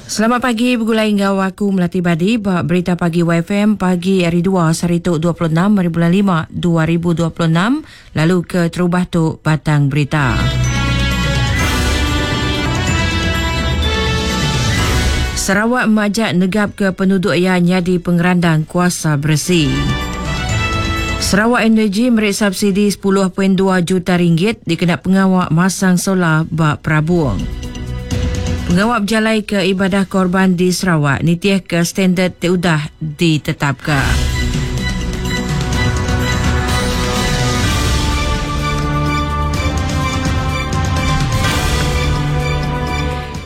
Selamat pagi begulai enggau aku Melati Badi ba Berita Pagi YFM pagi hari 2 sehari tu 26 hari bulan 5 2026 lalu ke terubah tu batang berita. Sarawak majak negap ke penduduk ia nyadi pengerandang kuasa bersih. Sarawak Energy meri subsidi 10.2 juta ringgit dikena pengawa masang solar ba Perabung. Pengawa bejalai ke ibadah korban di Sarawak nitih ke standard ti udah ditetapka.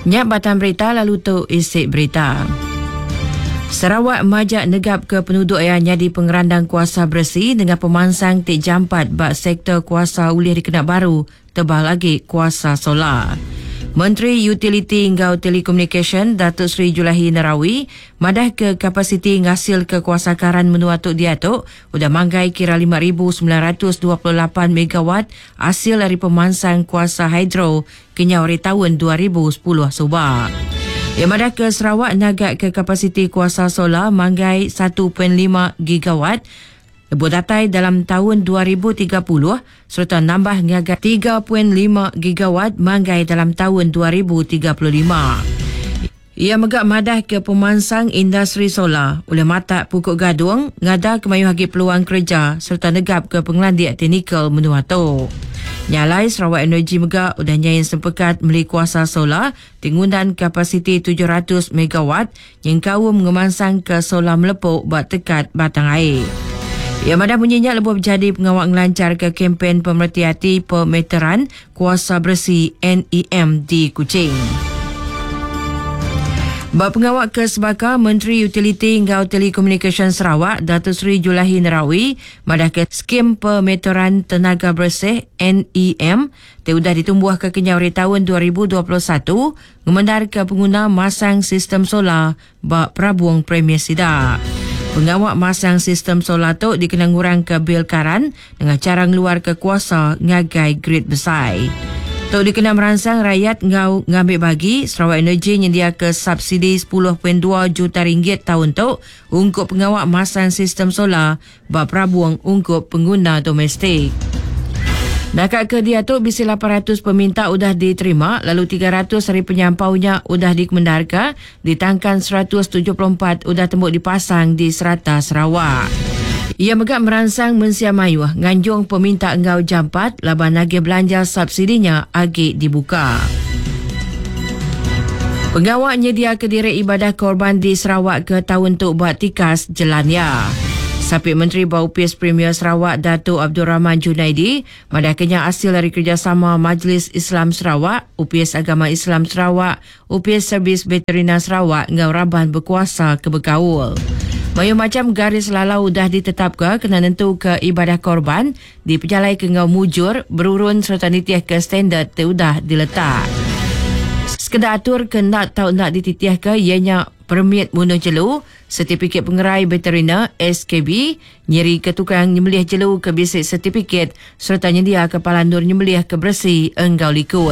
Nya batang berita lalu tu isi berita. Sarawak majak negap ke penuduk iya nyadi pengerandang kuasa beresi dengan pemansang ti jampat ba sektor kuasa ulih dikena baru tebal agi kuasa solar. Menteri Utiliti enggau Telekomunikasyen Datuk Seri Julaihi Narawi madahka kapasiti ngasilka kuasa karan menua tu diatu udah manggai kira 5,928 megawatt asil ari pemansang kuasa hidro kenyau ari taun 2010 suba. Iya madahka Sarawak nagaka kapasiti kuasa solar manggai 1.5 gigawatt lebuh datai dalam taun 2030 sereta nambah ngagai 3.5 gigawatt manggai dalam taun 2035. Iya mega madahka pemansang industri solar ulih matak pukuk gadung ngadaka mayuh agi peluang kereja sereta negapka pengelandik teknikal menua tu. Nya alai Sarawak Energy mega udah nyain sempekat meli kuasa solar ti ngundan kapasiti 700 megawatt nyengkaum ngemansangka solar melepuk ba tekat Batang Ai. Iya madah munyi nya lebuh bejadi pengawa ngelancharka kempen pemereti ati pemeteran kuasa beresi NEM di Kuching. Ba pengawa ke sebaka, Menteri Utiliti enggau Telekomunikasyen Sarawak, Datuk Seri Julaihi Narawi madahka Skim Pemeteran Tenaga Bersih, NEM, ti udah ditumbuhka kenyau ari taun 2021 ngemendarka penguna masang sistem solar ba perabung premis sida. Pengawa masang sistem solar tu dikena ngurangka bil karan nengah chara ngeluarka kuasa ngagai grid besai. Tu dikena meransang rayat enggau ngambi bagi, Sarawak Energy nyendiaka subsidi 10.2 juta ringgit taun tu ungkup pengawa masang sistem solar ba perabung ungkup pengguna domestik. Naka ke diatu bisi 800 peminta udah diterima lalu 300 ari penyampau nya udah dikemendarka ditangkan 174 udah tembu dipasang di serata Sarawak. Iya mega meransang mensia mayuh nganjung peminta enggau jampat laban agih belanja subsidi nya agi dibuka. Pengawa nyediaka diri ibadah korban di Sarawak ke taun tu ba tikas jelan iya. Sapit Menteri ba Opis Premier Sarawak Datuk Abdul Rahman Junaidi madahka nya asil ari kerejasama Majlis Islam Sarawak, Opis Agama Islam Sarawak, Opis Servis Veterinar Sarawak enggau raban bekuasa ke bekaul. Mayuh macham garis lalau udah ditetapka kena nentuka ibadah korban dipejalaika enggau mujur, berurun sereta nitihka standard ti udah diletak. Sekeda atur ke enda tau enda dititihka iya nya permit munuh jelu, setipikit pengerai veteriner, SKB, nyirika tukang nyembelih jelu ke bisi setipikit sereta nyendiaka palan endur nyembelih ke beresi enggau likun.